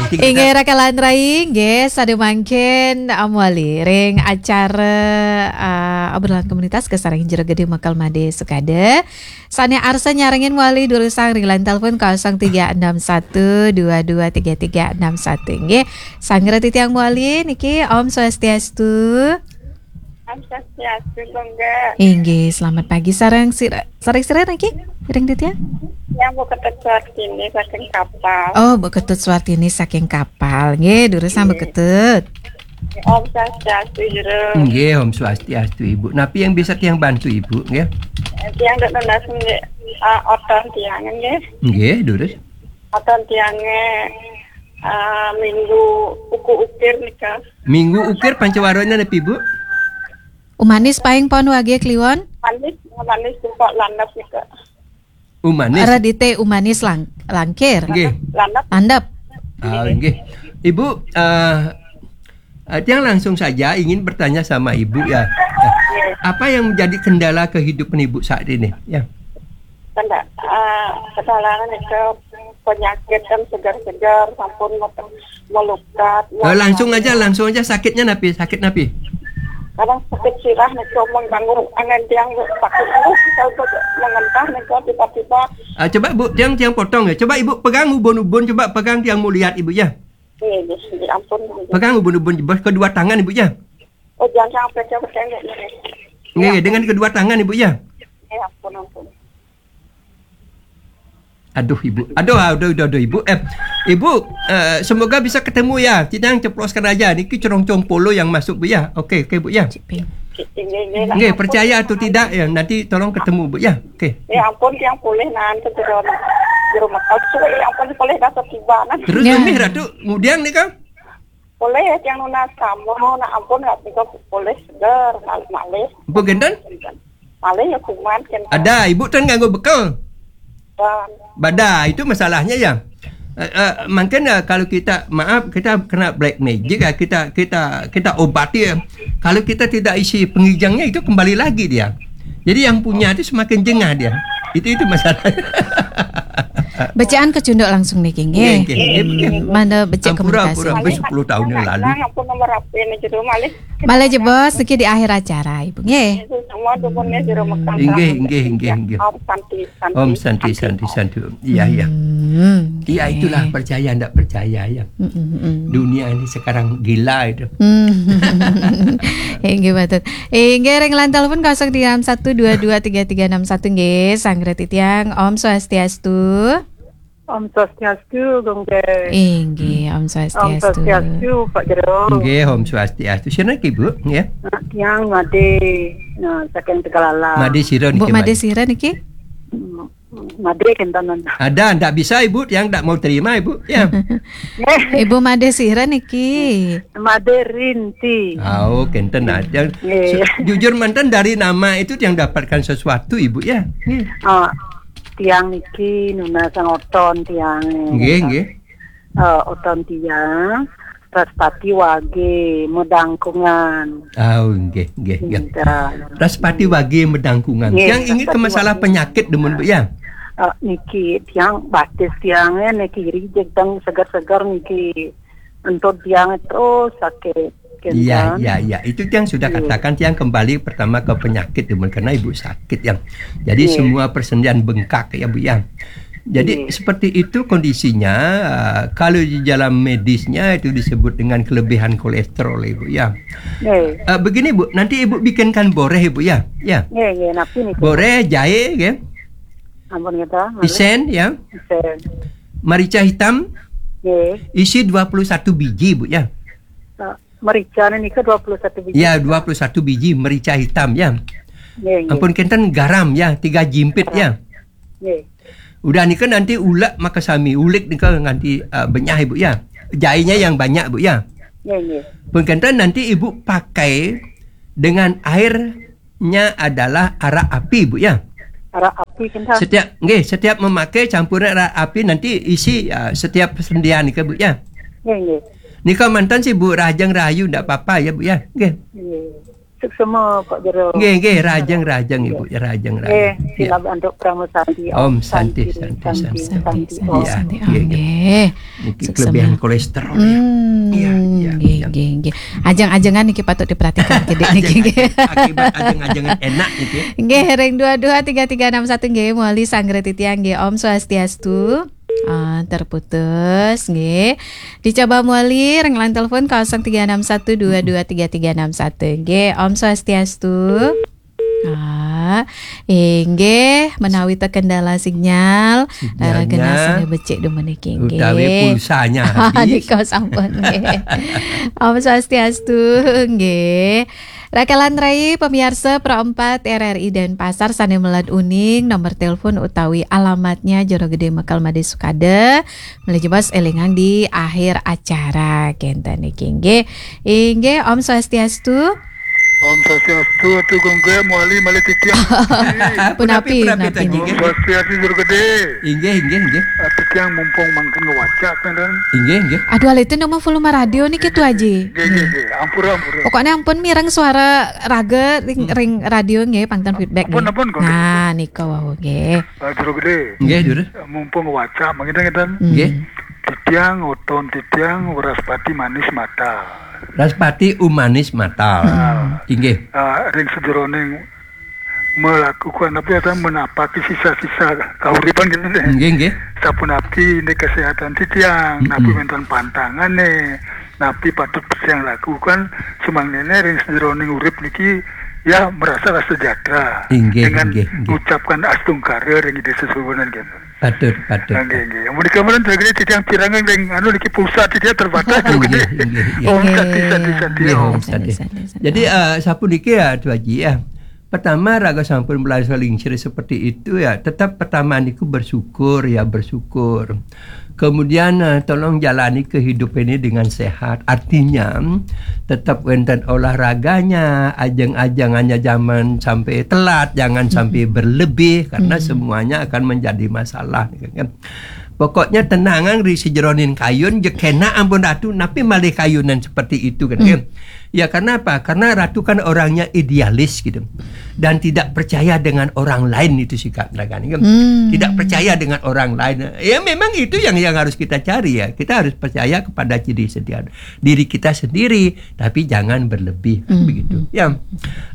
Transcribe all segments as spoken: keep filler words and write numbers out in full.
Inggih, rakalan rai, inggih, sadaya mangkin, um, malih ring acara, uh, obrolan komunitas kasarengin Jero Gede Mekel Made Sukade. Sane arsa nyarengin malih durusang ring line telepon kosong tiga enam satu dua dua tiga tiga enam satu, inggih. Sanggra titiang malih niki, Om Swastiastu. Om Swastiastu, Gung Gé. Inggih, selamat pagi sareng sira, sareng sira niki? Ring titiang? Yang Bu Ketut Suartini saking Kapal. Oh, Bu Ketut Suartini saking Kapal. Nggih, durusang Bu Ketut. Om Swastiastu, Jero. Nggih, Om Swastiastu, Ibu. Napi yang bisa tiang bantu, Ibu, nggih? Tiang dek nunas nggih, ah, oton tiang nggih. Nggih, durus. Oton tiang nggih, ah, minggu uku ukir nika. Minggu ukir pancawarana napi, Bu? Umanis paing pon wage kliwon? Manis, manis sumpah landep nika. Umanis. Radite Umanis lang-, langkir. Nggih. Landep. Landep. Ah, nggih. Ibu, eh, eh, tiang langsung saja ingin bertanya sama Ibu ya. Ya. Apa yang menjadi kendala kehidupan Ibu saat ini? Ya. Kenda-, eh, kendala nika penyakit kan segar-segar, sampun mete-, melukat. Eh, langsung aja, langsung aja sakitnya napi? Sakit napi? Kadang sakit sirah nika mengganggu angan tiang sakit terus, kalau mengentah nika tiba-tiba. Ah, coba Bu, tiang, tiang potong ya. Coba Ibu pegang ubun-ubun, coba pegang tiang mau lihat Ibu ya. Iya, iya, iya, ampun. Pegang ubun-ubun kedua tangan Ibu ya. Oh, jangan sampai saya pegang ya. Nggih, dengan kedua tangan Ibu ya. Ya ampun, ampun. Aduh, Ibu. Aduh, aduh, aduh, aduh, Ibu. Eh, Ibu, eh, semoga bisa ketemu ya. Kita yang ceploskan aja. Niki cerongcong polo yang masuk, Bu ya. Oke, oke, Bu ya. Nggih, percaya atau tidak ya, nanti tolong ketemu, Bu ya. Oke. Ya ampun, yang boleh nanti ke Jero, Jero Mekel. Suwe, ya ampun, boleh datang tiba nanti. Terus ya. Mih Ratu, kemudian nih kan? Boleh ya, yang nunas kamu, nak ampun, nggak bisa boleh seger, malih-malih. Bu Genten? Malih ya kuman kan. Ada, Ibu ten nganggo bekel. Dan Bada, itu masalahnya ya. Eh, eh, mungkin ya kalau kita, maaf, kita kena black magic ya, kita kita kita obati ya. Kalau kita tidak isi pengijangnya itu kembali lagi dia. Jadi yang punya itu semakin jengah dia. Itu itu masalah. Bacaan kecunduk langsung niki nggih. Nggih, nggih, nggih. Hmm, mana becik ampura, komunikasi. Ampura, wis sepuluh tahun yang lalu. Nah, ampun nomor H P ini jero malih. Malih jebos niki di akhir acara, Ibu, nggih. Itu semua dukunnya Jero Mekel. Inggih, inggih, inggih, inggih. Om Santi, Santi, Om Santi, Santi, Santi, Santi. Iya, iya. Hmm, iya, oke. Itulah percaya ndak percaya ya. Mm, mm, mm. Dunia ini sekarang gila itu. Hmm. Inggih, betul. Inggih, ring line telepon kosong tiga enam satu dua dua tiga tiga enam satu, nggih, sanggra titiang. Om Swastiastu. Om Swastiastu, Gung Gé. Inggih, Om Swastiastu. Om Swastiastu, Pak Jero. Inggih, Om Swastiastu. Sira niki, Bu, nggih? Nah, tiang Made, nah, saking Tegalala. Made sira niki, Bu, Made sira niki? Hmm, Made kenten. Ada, ndak bisa, Ibu, yang ndak mau terima, Ibu, ya. Ibu Made sira niki? Made Rinti. Oh, kenten aja. Nggih. Jujur manten dari nama itu yang dapatkan sesuatu, Ibu, ya. Nggih. Oh, tiang niki nunas oton tiang. Nggih, nggih. Eh, oton tiang, Raspati Wage, Medangkungan. Oh, nggih, nggih, nggih. Nggih. Raspati Wage Medangkungan. Nggih, yang ini ke Raspati masalah Wage. Penyakit demen, Bu, ya? Eh, niki tiang batis tiangnya niki rijek tang segar-segar niki. Entut tiang terus sakit. Iya, iya, iya. Itu yang sudah katakan, yang kembali pertama ke penyakit, Ibu, karena Ibu sakit, ya. Jadi, semua persendian bengkak, ya, Bu, ya. Jadi, seperti itu kondisinya, eh, kalau di dalam medisnya itu disebut dengan kelebihan kolesterol, Ibu, ya. Eh, begini, Bu, nanti Ibu bikinkan boreh, Ibu, ya. Ya. Nggih, nggih, napi niku? Boreh, jahe, nggih. Ampun, nggih, malih. Isen, ya. Isen. Merica hitam. Nggih. Isi dua puluh satu biji, Bu, ya. Eh, merica nika dua puluh satu biji. Ya, dua puluh satu biji merica hitam, ya. Nggih, nggih. Ampun kenten garam, ya, tiga jimpit, ya. Garam. Nggih. Udah nika nanti ulek makasami, ulik nika nganti, eh, benyah, Ibu, ya. Jahenya yang banyak, Bu, ya. Nggih, nggih. Ampun kenten nanti Ibu pakai dengan airnya adalah arak api, Bu, ya. Arak api kenten. Setiap, nggih, setiap memakai campuran arak api nanti isi, eh, setiap persendian nika, Bu, ya. Nggih, nggih. Nika manten sih, Bu, rahajeng rahayu ndak apa-apa ya, Bu, ya. Nggih. Nggih. Suksma Pak Jero. Nggih, nggih, rahajeng, rahajeng, Ibu, rahajeng, rahajeng. Nggih, sineb antuk parama santi. Om Santi, Santi, Santi, Santi, Santi. Santi, Om. Iya, Santi, nggih, nggih. Nggih. Niki suksma. Kelebihan kolesterol, ya. Hmm, iya, iya, nggih, iya. Nggih, nggih. Ajeng-ajengan niki patut diperhatikan, nggih, niki, nggih. Ajeng-ajeng, akibat ajeng-ajengan enak niki. Nggih, ring dua dua tiga tiga enam satu nggih, mawali sareng titiang nggih, Om Swastiastu. Ah, terputus, nggih. Dicoba mawali ring line telepon kosong tiga enam satu dua dua tiga tiga enam satu. Nggih, Om Swastiastu. Ah, inggih, menawi terkendala sinyal, sinyalnya raraga sane becik dumun niki, nggih. Utawi pulsanya habis. Nika sampun, nggih. Om Swastiastu, nggih. Rakalan rai, pemirsa Pro empat R R I Denpasar sane meled uning, nomor telepon utawi alamatnya Jero Gede Mekel Made Sukade. Malih jebos elingang di akhir acara kenten niki, nggih. Inggih, Om Swastiastu. Om Swastiastu, Atu Gungge, mawali malih titiang. Punapi, punapi, punapi, punapi, Atu Gungge. Om Swastiastu, Jero Gede. Inggih, inggih, inggih. Ah, titiang mumpung mangkin ngwacak, kenten. Inggih, inggih. Aduh, alih ten nama volume radio niki, Tu Aji. Nggih, nggih, nggih. Ampura, ampura. Pokoknya ampun mireng suara raga ring, hmm, ring radio nggih, pangten feedback nggih. Ampun, ampun, nggih. Nah, nika wau nggih. Ah, Jero Gede. Nggih, Jero. Mumpung ngwacak, mangkin kenten. Hmm. Nggih. Titiang, oton titiang, Wraspati Manis Mata. Wraspati Umanis Mata. Hmm. Inggih. Ah, ring sajeroning melakukan apa ya, menapaki sisa-sisa kauripan kenten deh. Nggih, nggih. Sapunapi ini kesehatan titiang, mm-mm, napi wenten pantangane, napi patut titiang lakukan, sumangdene ring sajeroning urip niki, ya, merasa rasa sejahtera. Inggih, dengan inggih, inggih. Ngucapkan astungkara ring Ida Sesuhunan kenten. Patut, patut. Nggih, nggih. Amun dikamelan tergede titiang pirengang ring anu niki pulsa titiang terbatas. Inggih, tergede. Inggih, inggih. Om Santi, Santi, Santi, nggih, Om. Om Santi. Santi, Santi, Santi. Jadi, eh, sapuniki ya, Tu Aji ya. Pertama, raga sampun mulai selingsir seperti itu ya, tetap pertama niku bersyukur ya, bersyukur. Kemudian, eh, tolong jalani kehidupan ini dengan sehat. Artinya, tetap wenten olahraganya, ajeng-ajengannya jangan sampai telat, jangan sampai, mm-mm, berlebih, karena, mm-mm, semuanya akan menjadi masalah, kan. Pokoknya tenangan ri sajeroning kayun, je kenak ampun Ratu, napi malih kayunan seperti itu, kan. Hmm. Ya, karena apa? Karena Ratu kan orangnya idealis gitu. Dan tidak percaya dengan orang lain itu sikap mereka ni, kan. Hmm. Tidak percaya dengan orang lain. Ya, memang itu yang, yang harus kita cari ya. Kita harus percaya kepada diri sendiri, diri kita sendiri, tapi jangan berlebih, kan, hmm, begitu. Hmm. Ya.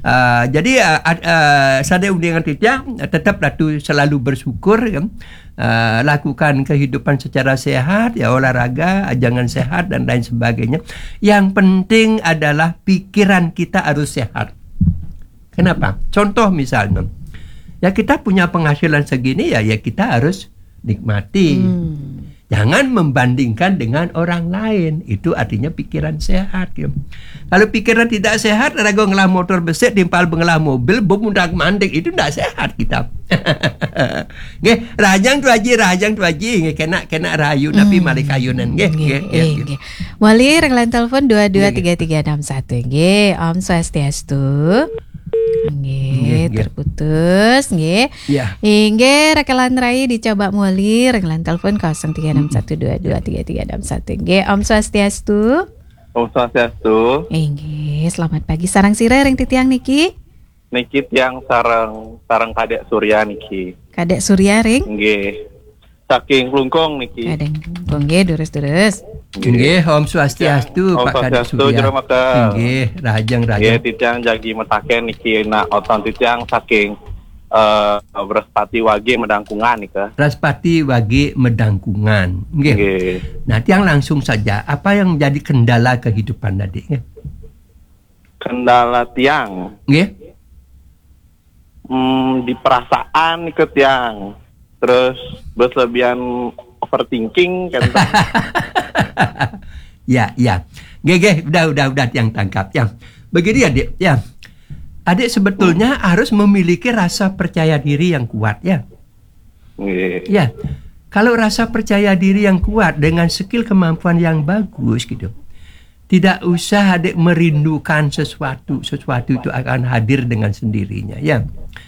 Ah, jadi, ah, ad-, ah, sane uningan titiang, tetap Ratu selalu bersyukur, kan. Eh, lakukan kehidupan secara sehat, ya, olahraga, jangan sehat, dan lain sebagainya. Yang penting adalah pikiran kita harus sehat. Kenapa? Contoh misalnya, ya, kita punya penghasilan segini, ya, ya, kita harus nikmati. Hmm. Jangan membandingkan dengan orang lain. Itu artinya pikiran sehat, ya. Kalau pikiran tidak sehat, raga ngelah motor besik, timpal ngelah mobil, bom undak mandek, itu ndak sehat kita. Nggih, rahajeng Tu Aji, rahajeng Tu Aji, nggih, kenak, kenak rahayu, napi, hmm, malih kayunan, nggih, nggih, nggih, nggih, nggih, nggih. Mawali ring line telepon dua dua tiga tiga enam satu, nggih, Om Swastiastu. Nggih, nggih, nggih. Terputus, nggih. Ya. Inggih, rakalan rai dicoba mawali ring line telepon kosong tiga enam satu dua dua tiga tiga enam satu. Nggih, Om Swastiastu. Om Swastiastu. Inggih, selamat pagi. Sareng sira ring titiang niki? Niki tiang sareng, sareng Kadek Surya niki. Kadek Surya ring? Nggih. Saking Klungkung niki. Kadek Klungkung, nggih, durus-durus. Nggih, Om Swastiastu, Om Pak Kadek Swastiastu, Surya. Jero Maka. Nggih, rahajeng, rahajeng. Nggih, titiang jagi mataken niki nak oton titiang saking, eh, Wraspati Wage Medangkungan nika. Wraspati Wage Medangkungan. Nggih. Nggih. Nah, tiang langsung saja, apa yang menjadi kendala kehidupan tadi, nggih? Kendala tiang. Nggih. Hmm, di perasaan nika tiang. Terus berlebihan overthinking kan. Ya, ya. Nggih, nggih, udah, udah, udah tiang tangkap, ya. Begini, Adik, ya. Adik sebetulnya, hmm, harus memiliki rasa percaya diri yang kuat, ya. Nggih. Ya. Kalau rasa percaya diri yang kuat dengan skill kemampuan yang bagus gitu. Tidak usah adik merindukan sesuatu, sesuatu itu akan hadir dengan sendirinya, ya.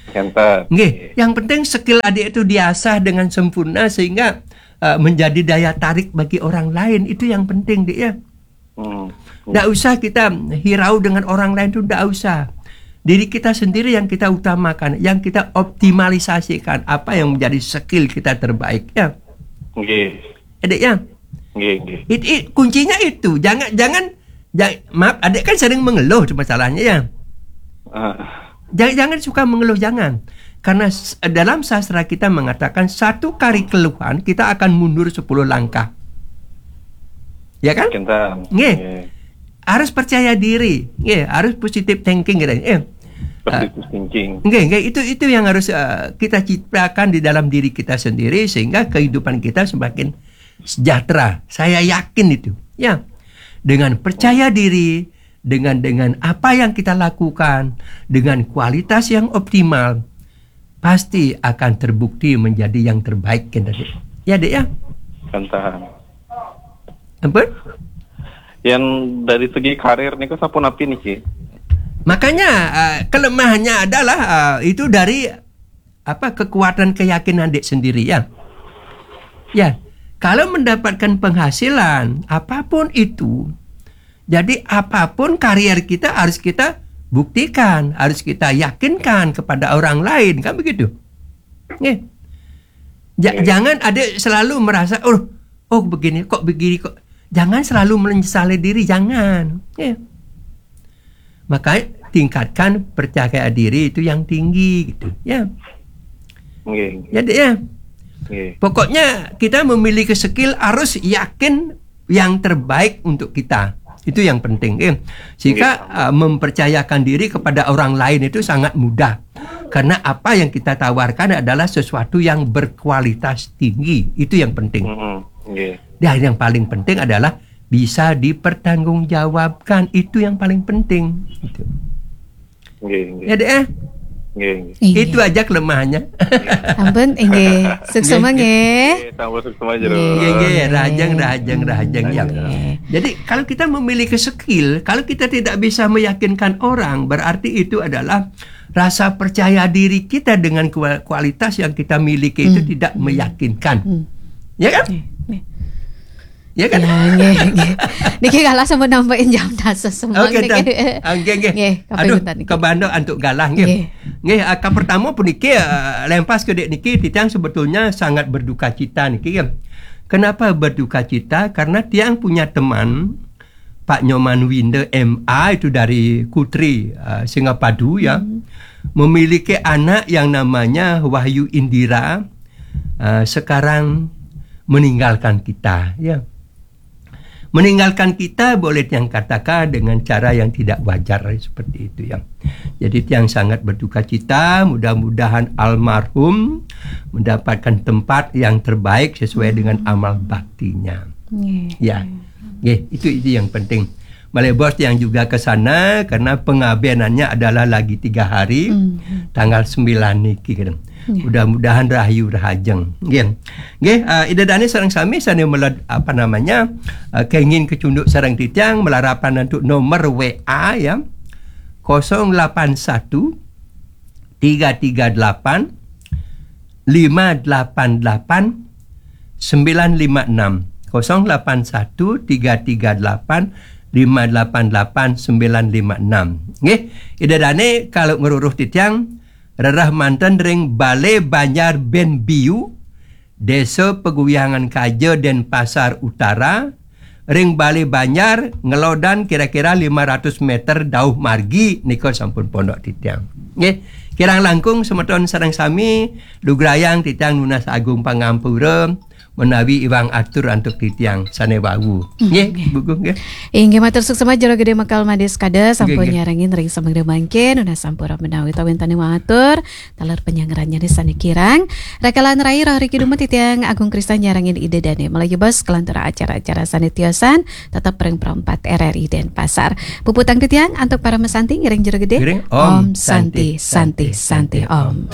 Kenten. Nggih, yang penting skill adik itu diasah dengan sempurna sehingga, eh, menjadi daya tarik bagi orang lain. Itu yang penting, Dik, ya. Hmm. Ndak usah kita hirau dengan orang lain tu, ndak usah. diri kita sendiri yang kita utamakan, yang kita optimalisasikan, apa yang menjadi skill kita terbaik, ya. Nggih. Adik, ya. Nggih, nggih. It, it, kuncinya itu. Jangan, jangan, ja- maaf, adik kan sering mengeluh tu masalahnya, ya. Ah, Jangan, jangan suka mengeluh, jangan. Karena s- dalam sastra kita mengatakan satu kali keluhan kita akan mundur sepuluh langkah. Ya kan? Kinten. Nggih. Nggih. Harus percaya diri, nggih, harus positive thinking gitu. Eh, Positive thinking. Nggih, nggih, itu itu yang harus eh, kita ciptakan di dalam diri kita sendiri sehingga kehidupan kita semakin sejahtera. Saya yakin itu. Ya. Dengan percaya diri, dengan dengan apa yang kita lakukan, dengan kualitas yang optimal, pasti akan terbukti menjadi yang terbaik kan, Dek? Ya, Dek, ya. Kinten. Ampun? Yang dari segi karir niku sapunapi niki? Makanya eh, kelemahannya adalah eh, itu dari apa, kekuatan keyakinan Dek sendiri, ya. Ya, kalau mendapatkan penghasilan apapun itu, jadi apapun karier kita harus kita buktikan, harus kita yakinkan kepada orang lain, kan begitu? Nggih. Ja- Nggih. Jangan ada selalu merasa, oh, oh, begini kok, begini kok. Jangan selalu menyesali diri, jangan. Ya. Maka tingkatkan percaya diri itu yang tinggi gitu, ya. Nggih, nggih. Ya, Dek, ya. Nggih. Pokoknya kita memiliki skill harus yakin yang terbaik untuk kita. Itu yang penting, eh. Sehingga uh, mempercayakan diri kepada orang lain itu sangat mudah. Karena apa yang kita tawarkan adalah sesuatu yang berkualitas tinggi. Itu yang penting. Mm-mm. Nggih. Dan yang paling penting adalah bisa dipertanggungjawabkan. Itu yang paling penting. Itu. Nggih, nggih. Ya, Dek, eh? Nggih, nggih. Inggih. Itu aja kelemahannya. Ampun, inggih. Suksma nggih. Nggih, sampun suksma jero. Nggih, nggih, rahajeng, rahajeng, rahajeng, ya. Nggih. Jadi kalau kita memiliki skill, kalau kita tidak bisa meyakinkan orang, berarti itu adalah rasa percaya diri kita dengan kua- kualitas yang kita miliki itu Hmm. tidak meyakinkan. Hmm. Ya kan? Nggih, nggih. Ya kan? Ya, nggih, nggih. Niki kalah sampun nambahin jam dasa semang Oke, niki. Tan. Oke, oke. Nggih, kaping Aduh, pinten niki? Kebandok antuk galah nggih. Nggih. Nggih, ah, ka pertama puniki, ah, lempas ke dek niki, titiang sebetulnya sangat berduka cita niki ya. Kenapa berduka cita? Karena tiang punya teman Pak Nyoman Winda M A itu dari Kutri, ah, Singapadu ya. Hmm. Memiliki anak yang namanya Wahyu Indira, ah, sekarang meninggalkan kita ya. Meninggalkan kita boleh yang katakan dengan cara yang tidak wajar seperti itu ya. Jadi tiang sangat berduka cita, mudah-mudahan almarhum mendapatkan tempat yang terbaik sesuai dengan amal baktinya. Nggih. Ya. Nggih, itu itu yang penting. Malih bos yang juga ke sana karena pengabenannya adalah lagi tiga hari, Hmm. tanggal sembilan niki kan. Ya. Mudah-mudahan rahayu rahajeng. Nggih. Nggih, uh, Ida Dane sareng sami sane meled, apa namanya, uh, kenging kecunduk sareng titiang malarapan antuk nomor W A ya. kosong lapan satu tiga tiga delapan lima delapan delapan sembilan lima enam. kosong lapan satu tiga tiga delapan lima delapan delapan sembilan lima enam. Nggih, Ida Dane kalau ngeruruh titiang rerah manten ring Balai Banjar Benbiu, Desa Peguyangan Kaja, Denpasar Utara, ring Balai Banjar ngelodan kira-kira lima ratus meter dauh margi nika sampun pondok titiang. Nggih, kirang langkung semeton sareng sami lugrayang titiang nunas agung pangampura menawi iwang atur antuk titiang sane wau. Nggih, Bu Gung nggih. Inggih matur suksma Jero Gede Mekal Madis Kada sampun Nggih, nggih. nyarengin ring semeng mangkin, nunas sampura menawi tawin tane matur taler penyangrannya sane kirang. Rakalan rai roh riki dumet titiang Agung Kristan nyarengin Ida Dane. Malih bos kelantur acara-acara sane tiosan tetep ring Pro empat R R I Denpasar. Puputang titiang antuk para mesanti ngiring Jero Gede. Ngiring Om Santi, Santi, Santi, Om.